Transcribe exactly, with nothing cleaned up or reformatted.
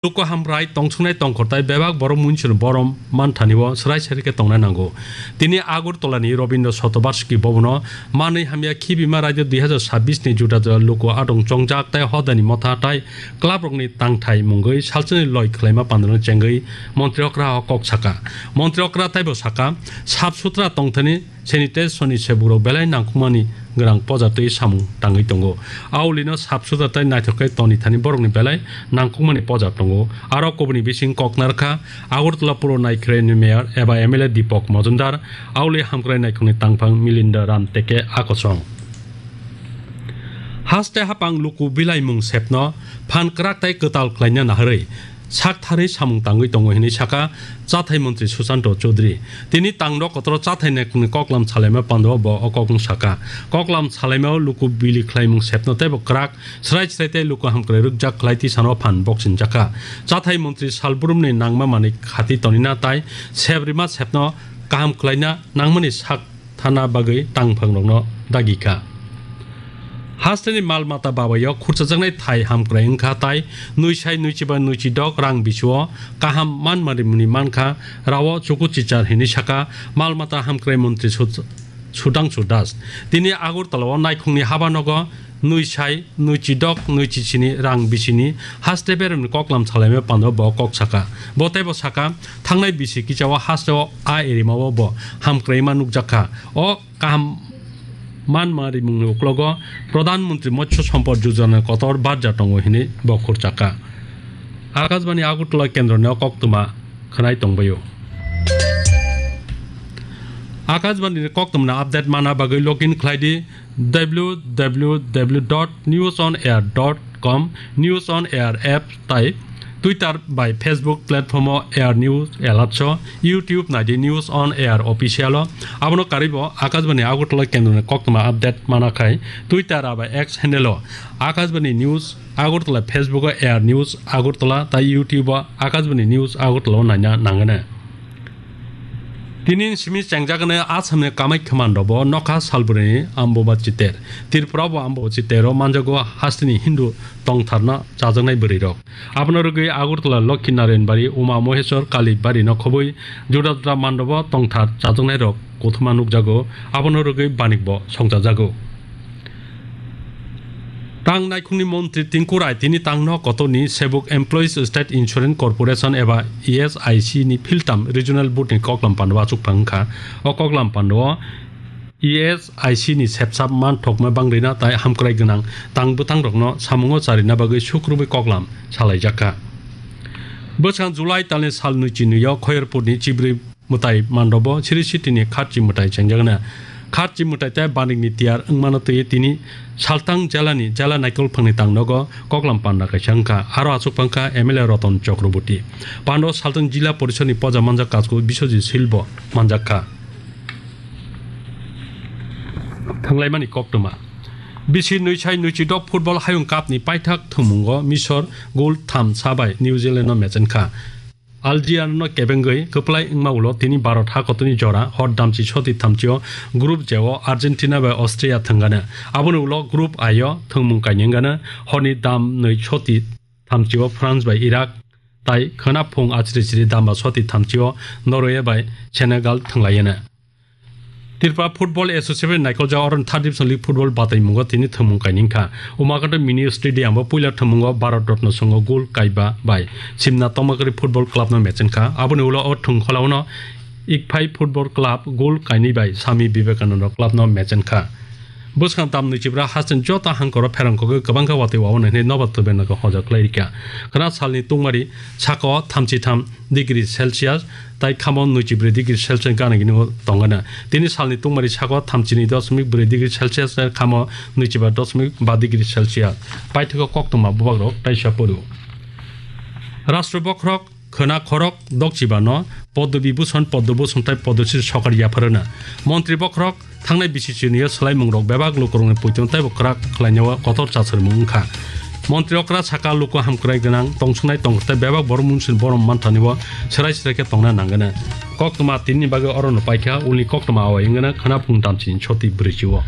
Luku hamkrai tongsongnai tongkhortai bebak borok muinsuni borom manthani o swrai swrai khe tongnai nango. Tini Agartala ni Rabindra Shatobarshiki Bhavan o manwi hamya khibima raida dui hazar sabbish ni juda juda luku adong chongjak tai hodani motha tai club rokni tangthai mungwi salsani loi khwlaima pandano chengwi montri okra o kok saka. Montri okra taibo saka, sap sutra tongthani sanitation ni sebukrok belai nangkukmani gwnang poja twi samung tangwi tongo. Aulino sap sutra tai naithok khe toni thani borokni belai nangkukmani poja tongo. Aro kubuni bising kok narwkha Agartala Puro Naikhre ni mayor eba M L A Deepak Majumdar, auli hamkrai naikhungni tangphang Milinda Ram teke akosong. Haste hapang luku bilaimung sepno phan kwrak tai kwtal khlaina naharwi sak tharwi samung tangwi tongo hinwi saka chathai montri Susanto Chowdhury. Tini tangno kotoro chathai naikhungni koklam salaima pando bo o kokno saka. Koklam salaimao luku bili khlaimung sepno teibo kwrak srai srai tei luku hamkrai rwkjak khlai tisano phan boksinjakha. Chathai montri salbrumni nangma manwi khati tonina tai sep rima sepno kaham khlaina nangmani sak thana bagwi tangphangrokno dagi kha. Hasteni mal mata babaio khurchajaknai thai hamkrai wngkha tai nui sai nui chiba nui chidok rang bisio kaham manmani mankha rao chuku chichar hinwi saka mal mata hamkrai montri Sud-, Sudhangshu Das. Tini Agartala o naikhungni habanogo nui sai nui chidok nui chichini rang bisini haste beremni koklam salaima pando bo kok saka. Bo teibo saka, thangnai bisi kichao hasteo a erimao bo hamkraima nukjakha. O kaham manma rimungni uklogo Pradhan Mantri Matsya Sampad Yojana kotor barja tongo hinwi bo khurchakha. Akashbani Agartala kendroni o koktwma khwnai tongbaio. Akashbani ni koktwmani update mana bagwi login khlai di w w w dot news on air dot com, News on Air app tai Twitter bai Facebook platform o Air News Alerts o, YouTube nai di News on Air Official o. Abono karwi bo Akashbani Agartala kendroni koktwma update mana khai Twitter bai X handle o Akashbani News Agartala, Facebook o Air News Agartala tai YouTube o Akashbani News Agartala o naina nangani. Tini simi chengjagani Assamni Kamaikya mandabo nokha salbrini Ambubachi ter. Tripurabo Ambubachi tero manjago hasteni Hindu tongtharna chajaknai bwrwirok. Abono rwgwi Agartala Lokhi Narayan Bari, Uma Moheswar Kali Bari no khobwi juda juda mandabo tongthar chajaknairok kuthuma nukjago. Abono rwgwi banikbo songchajago. Tang naikhungni montri Tinku Rai tini tangno kotorni Sebuk Employees State Insurance Corporation eba E S I C ni philtam regional board ni koklam pando achuk phangkha. O koklam pando o E S I C ni sepsap man thokma bangrina tai hamkrai gwnang tang bwtang rokno samungo charina bagwi sukrubwi koklam salaijakha. Bwskang July talni sal nui chinwi o Khoyerpur ni chibrwi mwtai mandobo Sri Siti ni kharchi mwtai chengjagna. Kharchi mwtai tei banik ni tiyar wngmano twi tini Saltang jela ni jela naikolphang ni tangnogo koklam panda kaisa wngkha. Aro achuk phangkha M L A Roton Chakraborty. Pando Saltang Jila Porishod ni poja manjak Kasku Biswajit Sil bo manjakha. Thanglaimani koktwma. Bisi nui sai nui chidok football hayung cup ni paithak thwngmungo Misor goal tham sabai New Zealand no mechenkha. Algeria no kebengwi kwplai wngma ulo tini Bharat hakotoni jora hor damchi soti thamchio Group J o Argentina bai Austria thwngani. Aboni ulo Group I o thwngmung kainwi wngani horni dam nwi soti thamchio France bai Iraq tai khwna phung achri chri damba soti thamchio Norway bai Senegal thwnglaiyani. Tripura Football Association naikol ja oron third division league football batai mungo tini thwngmung kainwi wngkha. Umakanto Mini Stadium o puila thwngmungo Bharat Ratna Songho gol kaiba bai Simna Tomakari Football Club no mechenkha. Aboni ulo o thwngkholao no Ikphai Football Club gol kainwi bai Swami Vivekananda Club no mechenkha. Bwskang tam nwi chibra hasten joto hangkoro pherang kogwi kwbangkha watwi wawanai hinwi nobar tubena khe hoja khlai rikha. Khwna salni tungmari saka o thamchi tham degree Celsius tai khamo nwichi bwrwi degree Celsius gana gini tongana. Tini salni tungmari saka o thamchi ni dosmik bwrwi degree Celsius tai khamo nwichi ba dosmik ba degree Celsius. Paithago koktwma bubagrok taisa porio. Rashtra bokhorok khwna khorok dokchiba no Padma Vibhushan, Padma Bhushan tai Padma Shri sokar yapharana. Montri bokhorok thangnai bisi chini o swlaimungrok bebak lukurokni poito teibo kwrak khlainao kotor chasarmung wngkha. Montri okra saka luku hamkrai gwnang tongsongnai tongthai bebak borok munsuni borom manthani o swrai swrai khe tongna nangani. Koktwma tinini bagwi orono paikha ulni koktwma awai wngana khwna phung damchini soti bwrwichi o.